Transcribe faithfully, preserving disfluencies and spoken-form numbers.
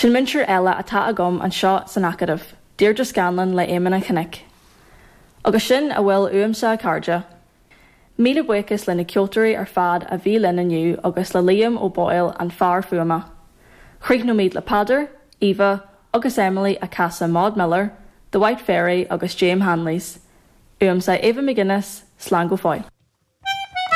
Sin múinteoir eile atá agam anseo san Acadamh, Deirdre Scanlon le Éamonn an Chnoic. Agus sin a bhfuil uaimse a chairde. Míle buíochas le na ceoltóirí ar fad a bhí linn inniu agus le Liam O'Boyle an fear fuaime. Críochnóimid le Peadar, Eva agus Emily ag casadh Maud Miller, The White Fairy agus James Hanley's. Uaimse Eva McGuinness, slán go fóill.